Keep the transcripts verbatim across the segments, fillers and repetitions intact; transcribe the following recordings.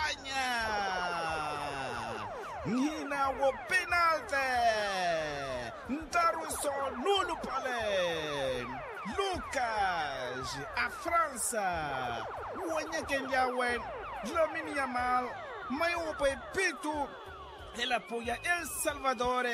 Nya nhina wo penalte. Ntaruso nuulupale. Lukas a fransa wenyekenlyawe. Lamini ya mal mayo wo pwepitu. Elapo ya el salvador.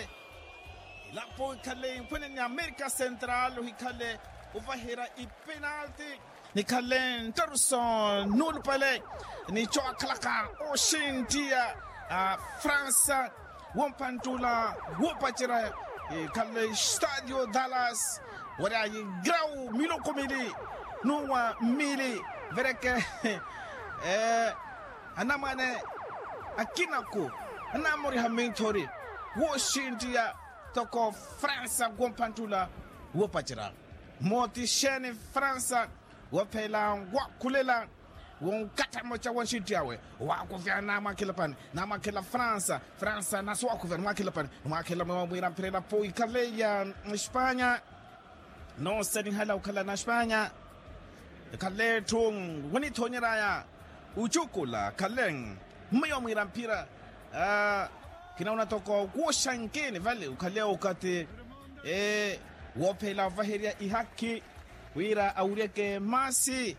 Elapo ikhale mpwene ni amerika central ohikhale ovaherya ipenalte. Nikhale nttaruso nuulupale. Ni cookhalaka oxinttiya a fransa wompanttula woopacerya. Ikhale stadio dallas waryayi grau miloko mili nuwa mili. Vereke anamwane akinaku anamoriha minthori wooxinttiya toko fransa wompanttula woopacerya. Mooti xeeni fransa wophela wakhulela wonkattha mmoca wa nxintti awe wakuvya namwakhela pani namwakhela fransa fransa nasi wakuvya nimwakhela pani nimwakhela mwewa mwiira mphira elapo ikhale ya espanya. Noosanihala okhala na espanya. Ekhale etthu wonithoonyeraya ocukula khale mmeyo mwiira mphira. Khinauna toko kuuxankini vale ukhale okathi woophela ovaherya ihakhi wira awuryeke maasi.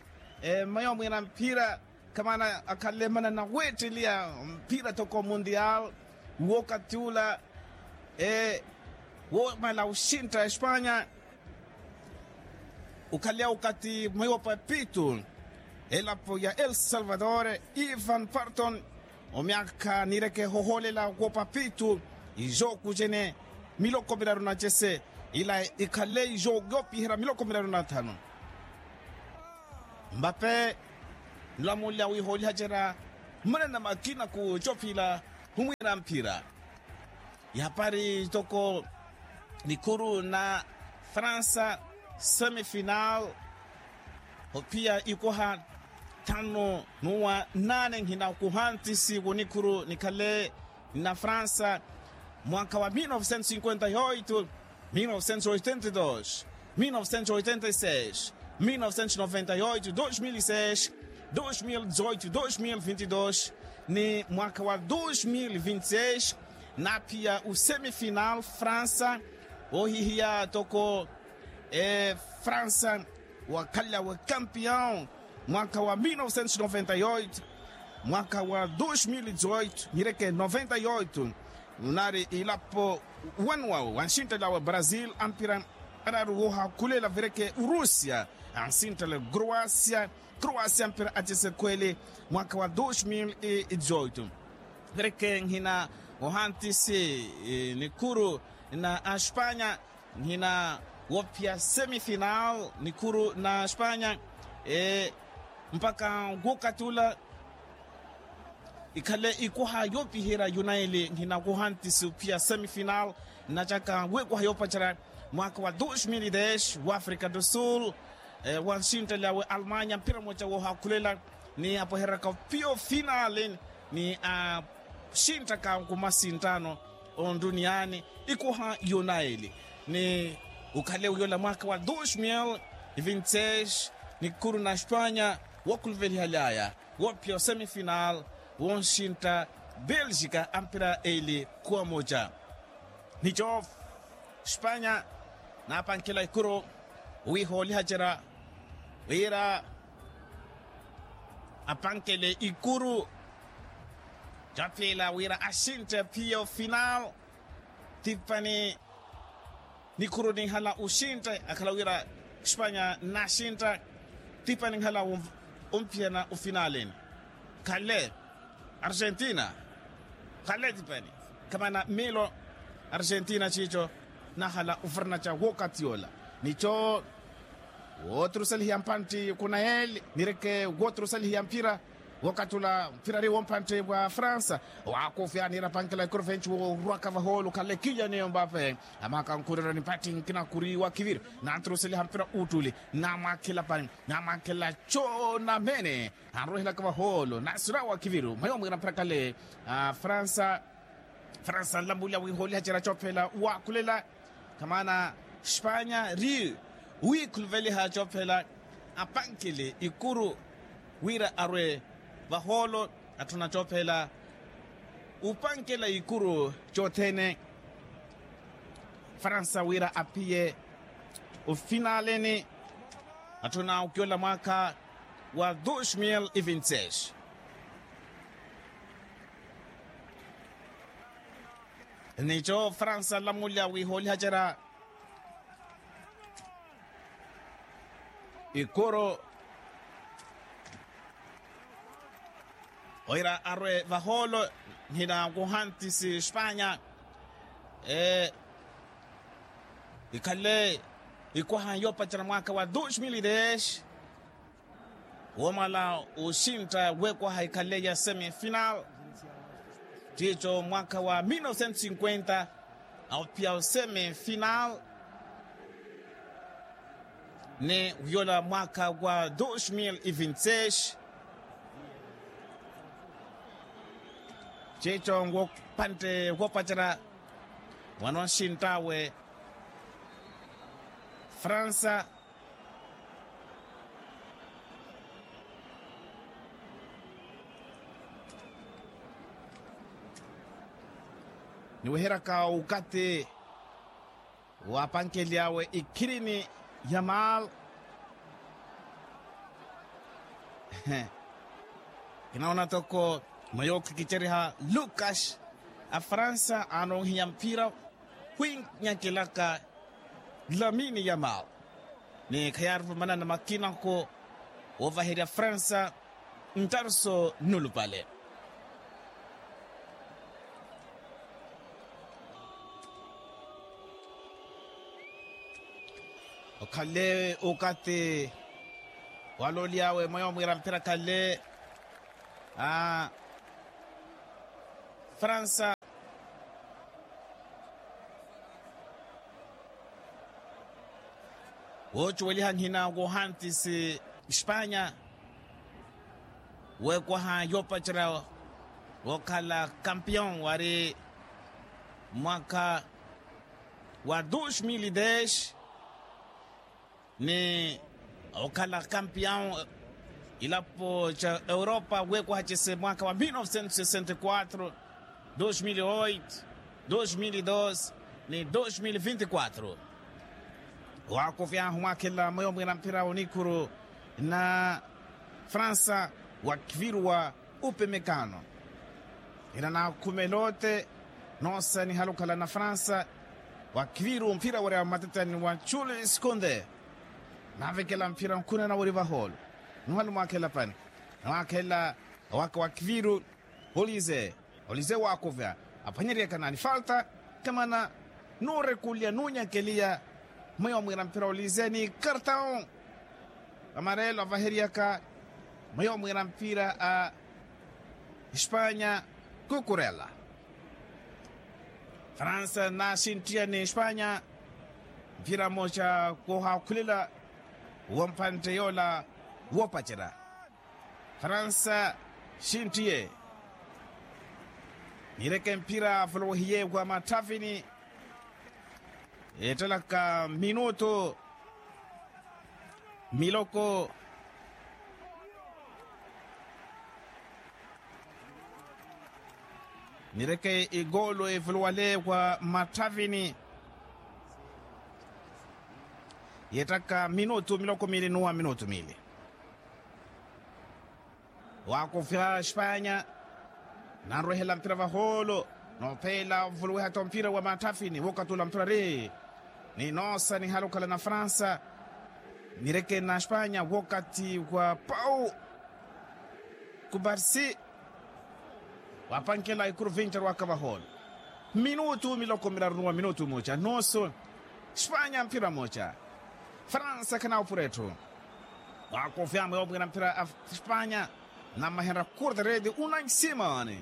Mmayo mwiira mphira khamana akhale manana weetteliya mphira toko mundial wookathi ula woomala oxintta espanya. Ukhale okathi mweyo papitu elapo ya el salvador ivan parton omyakha niireke hohoolela wo papitu. Ijo kujene miloko miraru na cese ila ikhale ijo yoopiherya miloko miraru na thanu. Mbape nlamulya wihoolihacerya mmanana makina ku cophila humwiira mphira. Ihapari toko nikhuru na fransa semifinal ophiya ikoha thanu nuwa naane nhina kuhantisi wonikhuru nikhale na fransa mwaka wa mil novecentos cinquenta e oito, mil novecentos oitenta e dois, mil novecentos oitenta e seis, mil novecentos noventa e oito, dois mil e seis, dois mil dezoito, dois mil vinte e dois ni mwaka wa dois mil vinte e seis. Naphiya usemifinal fransa ohihiya toko fransa wakhalyawe campeão mwaka wa mil novecentos noventa e oito, mwaka wa dois mil dezoito nireke noventa e oito. Nari ilapo wanuwawe wanxinttelawe brasil ampira araru wohakhulela vireke urusia anxinttele croasia. Croasia ampira acese khweli mwaka wa dois mil e dezoito. Vireke nhina ohantisi nikhuru na aspanya nhina wophiya semifinal nikhuru na aspanya mpaka wokatula ikhale ikoha yopiherya yunaili nhina wohantisi ophiya semifinal. Nnacaka wikoha yopacerya mwaka wa dos mil e des wa afrika do sul wanxintteli awe almanya mpira moca wohakhulela ni apohereraka ophiya ofinali ni axinttaka nkumasinttano onduniyani ikoha yonaili ni ukhale uyola mwaka wa dos mil e vinte e seis nikhuru na aspanya wokhuluvelihalyaya wophiya osemifinal wonxintta belgika ampira eli khuwa moca. Nico spanya napankhela ikuru wihoolihacerya wira apankhele ikuru capila wira axintte phiya ofinal. Tipani nikhuru ninhala oxintte akhala wira spanya naxintta. Tipani ninhala omphiyana ofinalini khale argentina khale tipani khamana milo argentina cico nahala ofernaca wokatiola nico wotrusalihiya mpantti kunaeli nireke wotrusalihiya mpira. Wokatula mpira ri wompantte wa fransa wakufya nira pankela ikorofenci worwaka vaholo khale kilyaniyo mbape amakankhurira ni mpatti nkina kuriwa kiviri nantrusaliha mpira uttuli namwakhela pani namwakhela conamene anrohelaka vaholo nasirawa kiviru mwayo mwira mpira kale. Fransa fransa nlambulya wihooliha cera cophela wakhulela khamana spanya ri wikhuluveliha cophela apankele ikuru wira arwe vaholo. Atthuna coopheela upankela ikuru cothene. Fransa wira aphiye ufinaleni atthuna ukiola mwaakha wa dos mil e vinte seis. Nico fransa lamulya wihoolihacerya ikuru oira arwe vahoolo. Nhina kuhantisi espanya ikhale ikwaha yoopacela mwaakha wa dos mil e dez. Woomala osintta wekwaha ikhale ya semi final. Tiico mwaakha wa mil novecentos cinquenta aophiya osemi final. Ni wiyola mwaakha wa dos mil e vinte seis. Tiico nwo pantte woopacerya wano nsinttawe fransa. Niweheryaka ukathi wapankely'awe ikhirini ya mal. Kinaona toko mwa yookhikicerya lukas a fransa anoohiya mphira khwinyakelaka lamini ya mal. Ni khayaarupa manana makinako woovaherya fransa ntarso nulupale. Okhale ukathi waloly'awe mweyo mwiira mphira khale a fransa. Woocuweliha nhina wohantisi espanya wekwaha yoopacerya wookhala kampion wari mwaakha wa dos mil e dez. Ni okhala kampion ilapo ca europa wekwaha cese mwaakha wa mil novecentos sessenta e quatro, dos mil e oito, dos mil e doze ni dos mil e vinte e quatro. Waakuvyahu mwaakhelela mweyo mwiira mphira onikuru na fransa wakiviruwa upemekano. Ina naakhumela ote noosanihala okhala na fransa wakiviru mphira wari a mmatetani wa jules conde. Naavekela mphira nkhunana wari vahoolo nuhali mwaakhela pani. Mwaakhela waka wakiviru olize olize waakuvya aphwanyeryaka nani falta kamana nuurekulya nuunyakeliya. Mweyo mwiira mphira olize ni kartaon amarelo avaheryaka mweyo mwiira mpira a espanya kukurela. Fransa nasinttiyani espanya mpira moca koohakhulela wompantte yola woopacera. Fransa sinttiye nireke mpira avolowehiye wa mathavini. Ettalaka minutu miloko nireke igolo evolowale wa mathavini. Yettaka minutu miloko mili nuwa minutu mili. Waakuvya espanya nanrwehela mpira vahoolo. Noopheela ovuluwiha-tho mpira wa matthafini wookatula mpira ri ni noosanihala okhala na fransa. Nirekeni na espanya wookathi wa pau kubarsi. Waapankela ikuru vinci arwaka vahoolo minutu miloko miraru nuwa minutu mooca nusu. Espanya mpira mooca fransa khanawupura etthu. Waakuvya mweyo mwiira mpira a espanya. Nammahenra kurderedi unai simon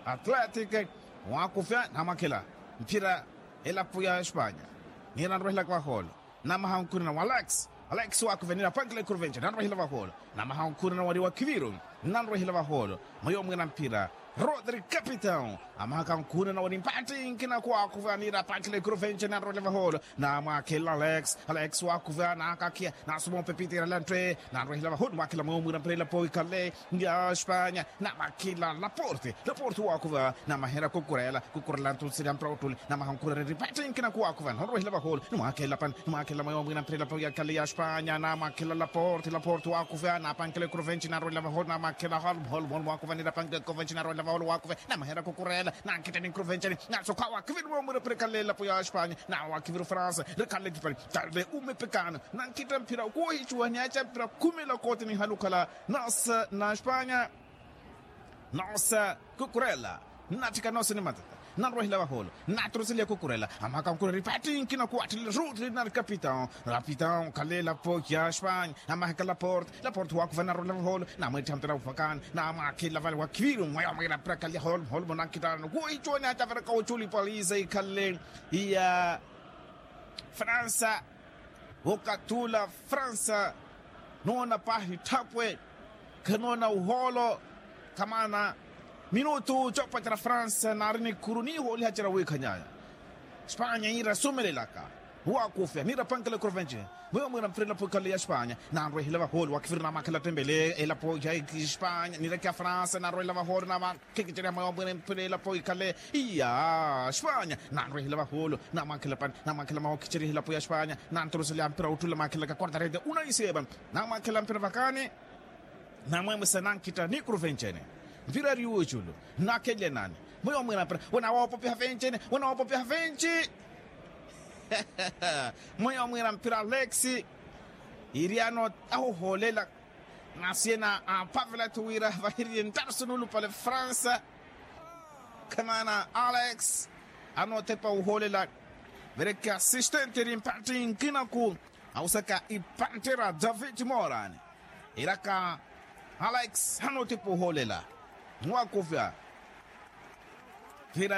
atletic. Waakuvya namwakhela mphira elapo ya espanya. Niira nrwehelaka vahoolo namaha onkhunana wa alex. Alex waakuvya niira apankela ikuru vinci nanrwehela vahoolo. Namaha onkhunana wari wa khiviru nanrwehela vahoolo. Mweyo mwiira mphira Rodri capitão. Amahaka nkhuna nawe ni mpattinkina kuwaakhuva niira apankhela ekuru venci nanrohela vahoolo. Namwakhelela alex. Alex waakhuva naakakhiya. Nasuma opepitera lantte. Nanrohela vahoolo mwakhelela mweyo mwira mpira elapo ikhalle ya espanya. Namwakhelela laporte. Laporte waakhuva namaherya kukurela. Kukurela ntunsirya mpira ottuli. Namaha nkhuna niira mpattinkina kuwaakhuva nanrohela vahoolo. Nimwakhelela pani. Nimwakhelela mweyo mwira mpira elapo ikhalle ya espanya namwakhelela laporte laporte waakhuva napankhela ekuru venci nanrohela vahoolo namwakhelela holm holm holm waakhuva niira apankhela ekuru venci nanrohela vahoolo waakhuva. Namaherya kukurela. Nankhita ni nkuru venceni. Nasokhwa wakhiviri mweyo mwira mpira ikhalle elapo ya espanya. Nawe wakhiviri fransa. Rikhalle ekipani. Tarde umepekano. Nankhita mpira kuuhicuwa niyaca mpira khumela kooti nihalukhala. Nasa na espanya. Nasa kukurela. Natthika nose ni matata. Nanrohela vahoolo. Naturuseliya kukurela. Amahaka nkurela ipattinkina kuwatthelela ruutli nari capitão. Capitão khalela poki ya espanya. Namahaka laporte. Laporte waakhuva nanrohela vahoolo. Namweettiha mpira uvakani. Namwakhelela vale wakhiviri mweyo mwira mpira khalle holm holm nankhitano kuuhicuwa niyaca mpira kawuculi paliza ikhalle. Iya. Fransa. Okathi ula fransa. Noona paahi tthapwe. Khanoona uhoolo. Kamaana minutu coopacera fransa naari ni khuru niihooliha cera wiikhanyaya. Espanya yiira asumelelaka. Waakufya niira apankela ekuru venci. Mweyo mwira mpira elapo ikhalle ya espanya. Nanrwehela vahoolo wakhiviri namwakhelela attembele elapo ya espanya niira ekya fransa nanrwehela vahoolo namwa. Khikiceriha mweyo mwira mpira elapo ikhale. Iya espanya. Nanrwehela vahoolo. Namwakhelela pani. Namwakhelela mweyo khicerihela elapo ya espanya. Nanturuselya mpira otthula mwakhelelaka quarta rede. Unaiseva. Namwakhelela mpira vakani. Namwemwesa nankhita ni kuru vencene. Mpira eri wuuculu. Nakhelelya nani? Mweyo mwira mpira wena woopopiha vencene. Wena woopopiha venci. Mweyo mwira mpira alex. Iriano ahuhoolela. Nasiyena apavelathu wira vahiriye nttarusu nuulupale fransa. Khamaana alex. Anoothepa ohoolela. Vereke assistente eri mpatthi nkinaku. Awusaka ipantera david moran. Iraka alex anoothepa ohoolela. Nwakuvya.